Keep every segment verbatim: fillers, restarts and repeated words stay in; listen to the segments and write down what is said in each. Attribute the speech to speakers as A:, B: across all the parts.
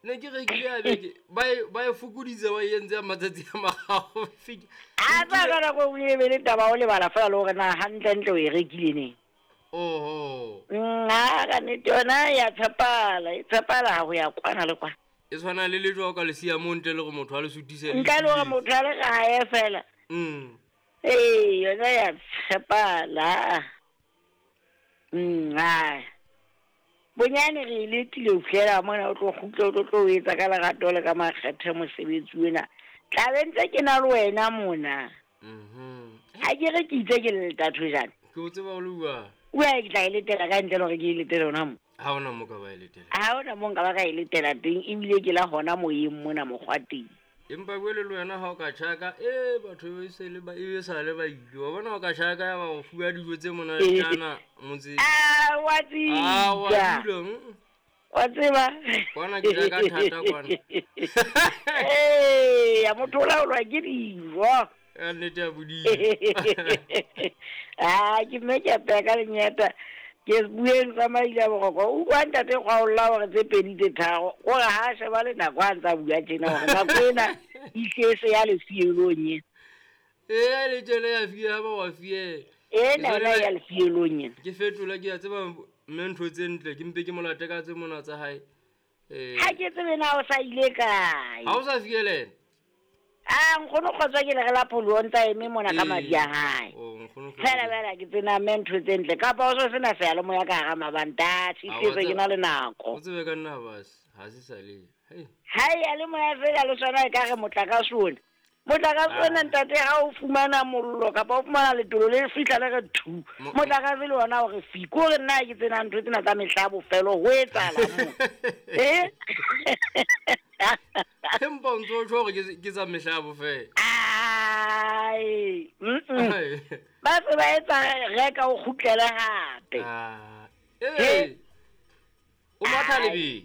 A: Ne ke rekile ya beke ba e ba e fokoditse ba e entse ya matsatsi a mararo.
B: A tsa ka nako e be le taba o lebala fela le hore na hantlentle o e rekile neng.
A: Oho.
B: Nna ka nnete yona ya tshepala, e tshepala ha ho ya kwana le kwana.
A: E tshwana le lejwa o ka le siya mo ntle le hore motho a le sutise.
B: Ntle le hore motho a le gae fela.
A: Mm.
B: Ee, yona ya tshepala. Mm, ai. Bonyane re letile ho fihlela mona o tlo kgutla o tlo tlo etsa ka lerato le ka makgethe mosebetsi ona. Tla be ntse ke na le wena mona.
A: Mhm.
B: Ha ke re ke itse ke le letatho jane.
A: Ke o tseba o le bua.
B: O ya ke tla e letela ka ntle le hore ke e letele hona mo.
A: Ha hona mo ka ba e letela.
B: Ha hona mo nka ba ka e letela teng ebile ke la hona moyeng mona mokgwa teng.
A: Empa bue le wena ha o ka tjhaka e batho ba se le ba e sa le ba ile. Wa bona o ka tjhaka ya ba o fuwa dijo tse monatjana motse.
B: Ah, wa tseba.
A: Ah, wa dula.
B: Wa tseba.
A: Kwana ke ja ka thata kwana.
B: Eh, ya motho o laolwa ke dijo.
A: Ya nnete ya bodimo.
B: Ah, ke mme ke apea ka lenyata. Ke bueng tsa maile a boroko. O utlwa ntate Kgwaolla hore tse pedi tse tharo. Kore ha sheba le nako a ntsa bua tjena hore nako ena e se ya lefielong e.
A: Eh, le tjele ya fie ha ba wa fie.
B: Ena yona ya lefielong ena.
A: Ke fetola ke a tseba mme ntho tse ntle ke mpe ke molate ka tse mona tsa hae. Eh.
B: Ha ke tsebe na o sa ile kae.
A: Ha o sa fielena.
B: Ah, nkgono kgotswa ke le re la pholo o ntsa eme mona ka madi a hae.
A: Oh, nkgono.
B: Fela fela ke tsena mme ntho tse ntle kapa o so sena seyalemoya ka hara mabanta, se ke na le nako.
A: O tsebe ka nna bas, ha se sa le. Hei.
B: Ha ya le moya fela le sona e ka re motlakase ona. Motlakase ona ntate ha o fumana mollo kapa o fumana letolo le fihla le re thu. Motlakase le ona o re fi. Ko re nna ke tsena ntho tsena tsa mehla bofelo ho etsahala mo. Eh?
A: Empa o ntso tjho hore ke tsa mehla bofelo.
B: Ai. Mm. Ba se ba etsa reka o kgutlele hape.
A: Ah. Eh. O matha lebelo.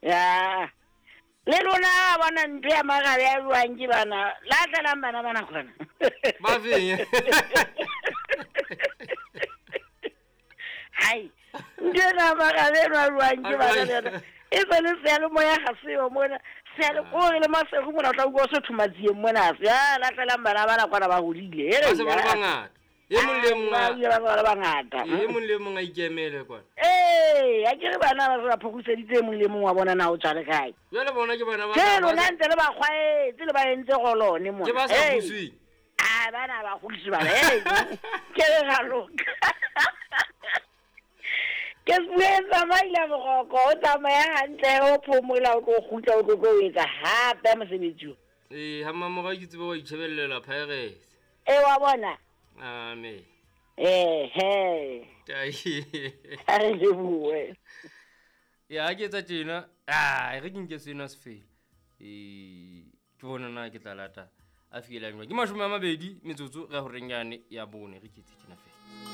B: Ya. Le lona bona ntho ya marabe ya jwang ke bana. Lahlelang bana bana kgona.
A: Ba feng?
B: Hai. Ntho ya marabe ya jwang ke bana lena. E se le seyalemoya ga seo mona. Seyale kore le masego mona o tla utlwa o se thomatsieng mona. Ya lahlelang bana bana kwana ba hodile.
A: Ba se ba le bangata. E mong le mong
B: ba ba le bangata.
A: E mong le mong a ikemele kwana.
B: Eh, a ke re bana ba se ba phokoseditse e mong le mong wa bona na o tswa le kae.
A: Jwale bona ke bana ba.
B: Ke lona ntse le ba kgwaetse le ba entse golone mona.
A: Ke ba sa busweng.
B: Ah, bana ba kgodiswe bana. Eh. Ke re ga loka. Ke buetsa maile boroko o tsamaya hantle o phomola o tlo kgutla o tlo tlo etsa hape mosebetsi o.
A: Eh, ha mamora ke tsebe wa itjhebellela Pirates.
B: Eh, wa bona.
A: Amen.
B: Eh, he.
A: Tai.
B: A re lebohe.
A: Ya ke etsa tjena, ah, re ke nke sena se fela. Eh, ke bona na ke tla lata a fiela jwang. Ke mashome a mabedi metsotso re horeng yane ya bone re ke etse tjena fela.